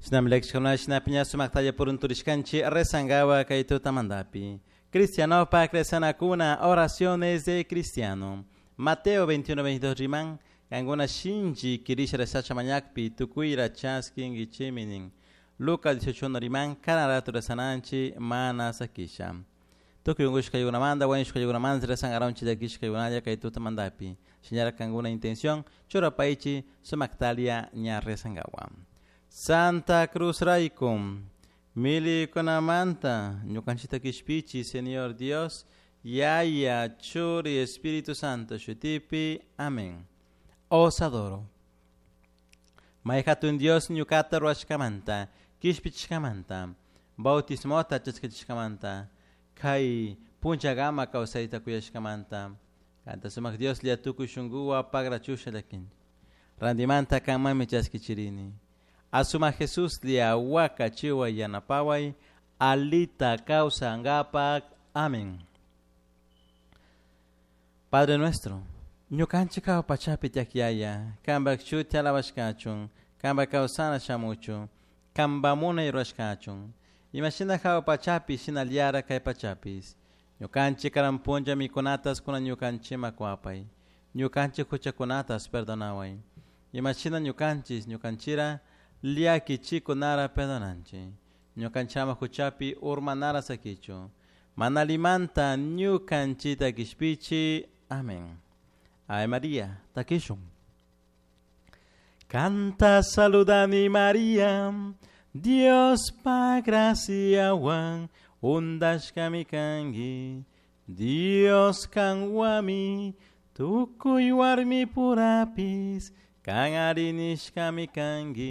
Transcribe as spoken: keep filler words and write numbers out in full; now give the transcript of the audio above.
Shinami llakishkuna shinapi ña sumaktalla purunturishkanchik rezankawa kay tutamantapi. Cristianopak rezanakuna oraciones de cristiano. Mateo veintiuno veintidós riman, kankuna shinchi kirisha rezacha mañakpi tukuyra chaskinkichimi nin. Lucas dieciocho uno riman, karan rato rezananchi mana sakisha. Tukuy unkushkaykunamanta, wañushkaykunamanta rezankaronchi llakishkaykunalla kay tutamantapi. Shinallara kankuna intención churapaychi sumaktalia ña rezankawa. Santa Cruz raykum, milikunamanta ñukanchikta kishpichi, Señor Dios, Yaya, Churi, Espíritu Santo, shutipi. Amén. Os adoro. May hatun Dios ñukata ruwashkamanta, kishpichishkamanta, bautismota chaskachishkamanta, kay punchagama kawsayta kuyashkamanta. Kanta sumak Dios lia tukuy shunkuwa pagrachusha llakin. Randimanta kanmanmi chaskichirini. Asuma Jesús lia waka chiwa yanapaway, alita kawsankapak. Amén. Padre nuestro, ñukanchik hawa pachapi tiyak Yaya, kanpak shuti alabashkachun, kanpak kawsana shamuchun, kanpak munay rurashkachun. Imashina hawa pachapi shinallara kay pachapis. Ñukanchik karan punlla mikunatas kunan ñukanchikman kuwapay. Ñukanchik huchakunatas perdonaway. Imashina ñukanchis ñukanchira llakichikunara perdonanchik. Ñukanchama huchapi urmanara sakichu. Mana limanta ñukanchita kishpichi. Amén. Ave María, takishun. Canta saludani María, Dios pa gracia wan, undashkami kanki, Dios kanwami, tukuy warmi purapis, kan arinishkami kanki.